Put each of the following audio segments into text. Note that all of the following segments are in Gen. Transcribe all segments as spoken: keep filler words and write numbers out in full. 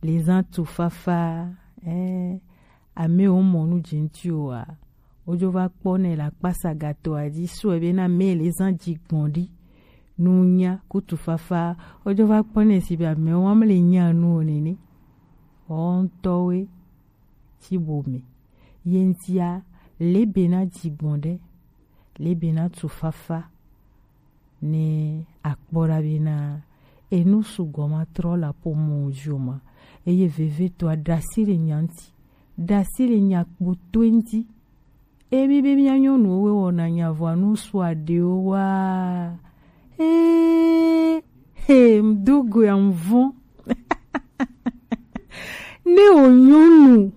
le zan tufafa, eh, ame wo mɔ nu ji ŋuti o a, wodzo va kpɔ nɛ le akpasa gato a dzi sɔe be na me le zan dzi gbɔn ɖi. Nunya ku tufafa, wodzo va kpɔ nɛ si be ame wo le nya nu o nene. Wo ŋutɔwoe ci bo me. Ye ŋutia, le be na dzi gbɔn ɖe, le be na tufafa. Ne akpɔ ɖa bena enu sugbɔ ma trɔ le aƒomɔ dzi o ma, eye vevietɔa ɖe asi le nya ŋuti, ɖe asi le nya kpotɔe ŋuti. Emi be mía nyɔnuwo wɔna nya vɔa nu su aɖewo wa. Ee, he, ŋdo go ya ŋvɔn. Ne wò nyɔnu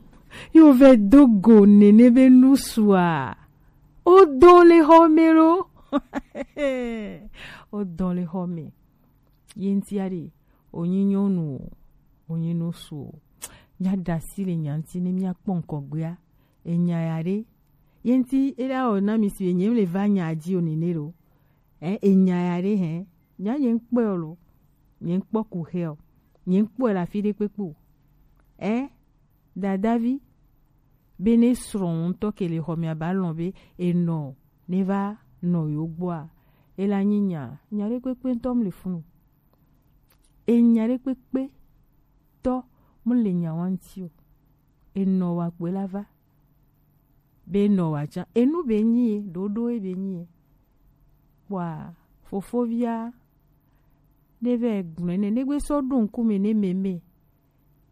yo vɛ do go nene be nu sua, o dɔn le xɔ me lo. O dɔn le xɔ me. Ye ŋutia ɖe, o nyi nyɔnu o, o nyi nusu o. Mía ɖe asi le nya ŋuti ne mía kpɔ ŋkɔgbea. Enya ya ɖe. Ye ŋuti e la wɔ na mi si be nye le va nya dzi o nene lo. Eh, enya ya ɖe hɛ. Nya nye ŋkpɔe o lo. Nye ŋkpɔ ku xe o. Nye ŋkpɔe le afi ɖe kpekpe o. Eh, dadavi. Be ne srɔ̃ ŋutɔ ke le xɔ mea ba lɔ̃ be enɔ ne va nɔ yo gbɔa, e la nyi nya, nya ɖe kpekpe ŋutɔ mu le funu. Enya ɖe kpekpe tɔ mu le nya wa ŋuti o. Enɔ wa kpoe la va. Be enɔ wa tsã. Enu be nyi ye, ɖoɖo ye be nyi ye. Kpɔa, fofovia, ne vɛ gblɔe nɛ, ne gbe sɔ ɖo ŋkume ne meme.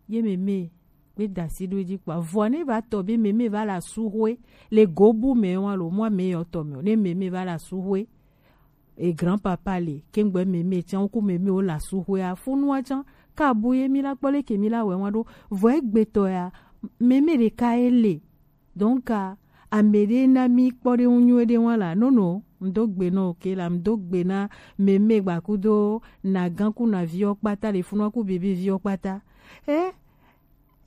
Ye meme gbe da asi ɖo edzi kpɔa, vɔa ne va tɔ be meme va le asuxwe le gobu me wa lo, mɔ ame yɔ tɔ me o. Ne meme va le asuxwe, e grand papa le, kengbe meme tsã, wo ku meme wo le asuxwea, funua tsã, ka bu ye mi la kpɔ leke mi la wɛ wa ɖo, vɔ egbetɔ ya, meme ɖeka ye le. Donc, a, ame ɖe na mi kpɔ ɖe ŋu nyuie ɖe wa la, nono, ŋdo gbe nɔ ke la, ŋdo gbe na meme gbakudo na gan ku na viwo kpata le funua ku bebe viwo kpata. Eh,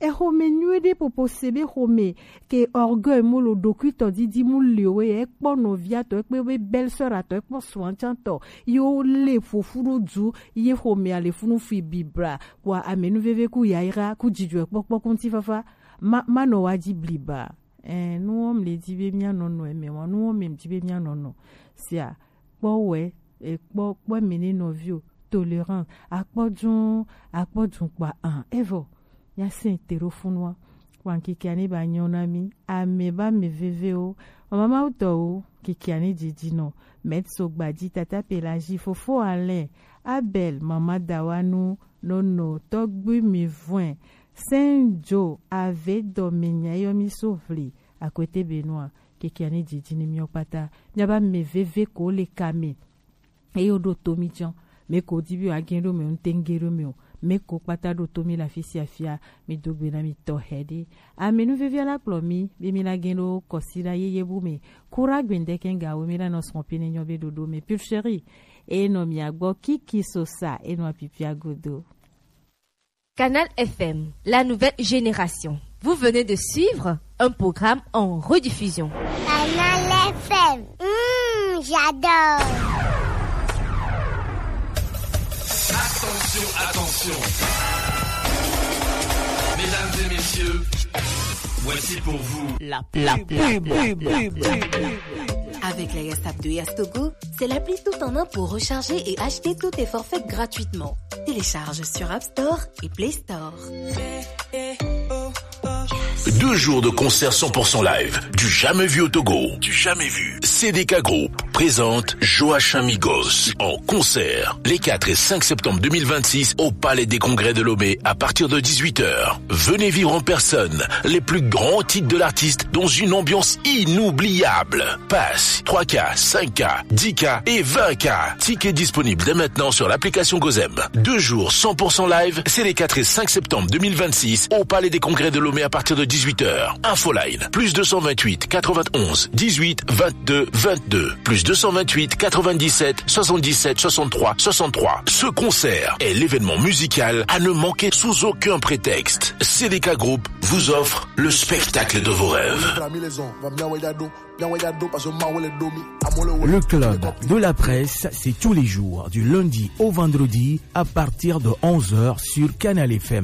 exome nyuie ɖe popo se be xome ke orgueil mo lo ɖokui tɔ didi mu le o ye, ekpɔ nɔvia tɔ, ekpɔ be belle-sœur atɔ, ekpɔ srɔ̃a tsã tɔ, ye wo le ƒoƒu ɖo du, ye xome a le funu fi bibra, kpɔa ame nu veve ku yayra, ku dzidzɔe kpɔkpɔ ku ŋutifafa, ma, ma nɔ wa dzi bliba. Eh, nu wɔm le dzi be mía nɔnɔ eme wa, nu wɔm me dzi be mía nɔnɔ. Sia, kpɔ wɛ, e, kpɔ, kpɔ eme ne nɔvi o, tolérance, akpɔ dun, akpɔ dun kpa, ah, evɔ, mía sɛn te ɖo funua. Wa ŋkeke ane ba nyɔ na mi, ame ba me veve o, mama Mawu tɔ o, ŋkeke ane dzidzi nɔ, Maître Sogbaji, tata Pelagie, fofo Alain, Abel, mama Dawanu, nono, tɔgbi mi vɔe, Saint Joe, ave dɔ me nya yɔ mi so vli, akwete be nua, keke ani dzidzi ni miɔ kpata. Mía ba me veve ko le ka me. Eyo ɖo to mi tsã. Me ko di bi wa gen ɖo me, ŋte ŋge ɖo me o. Me ko kpata ɖo to mi la fisi afia, mi do gbe na mi tɔ hɛ ɖe. Ame nu vevia la kplɔ mi, be mi la gen ɖo kɔsi la yeye bu me. Kura gbendeke nga wo mi la nɔ sɔn pine nyɔ be ɖoɖo me. Pure chérie, e nɔ mia gbɔ Kiki Sosa, e nɔ apipia godo. Canal F M, la nouvelle génération. Vous venez de suivre un programme en rediffusion. Canal F M, hmm, j'adore. Attention, attention. Mesdames et messieurs, voici pour vous la pub. La pub. Avec la Yastap de Yastogo, c'est l'appli tout en un pour recharger et acheter tous tes forfaits gratuitement. Télécharge sur App Store et Play Store. Deux jours de concert cent pour cent live, du jamais vu au Togo, du jamais vu. C D K Group présente Joachim Migos en concert les quatre et cinq septembre deux mille vingt-six au Palais des Congrès de Lomé à partir de dix-huit heures. Venez vivre en personne les plus grands titres de l'artiste dans une ambiance inoubliable. Pass trois K, cinq K, dix K et vingt K. Tickets disponibles dès maintenant sur l'application Gozem. Deux jours cent pour cent live, c'est les quatre et cinq septembre deux mille vingt-six au Palais des Congrès de Lomé à partir de dix-huit heures. Infoline, plus deux cent vingt-huit quatre-vingt-onze dix-huit vingt-deux vingt-deux, plus deux cent vingt-huit quatre-vingt-dix-sept soixante-dix-sept soixante-trois soixante-trois. Ce concert est l'événement musical à ne manquer sous aucun prétexte. C D K Group vous offre le spectacle de vos rêves. Le club de la presse, c'est tous les jours, du lundi au vendredi, à partir de onze heures sur Canal F M.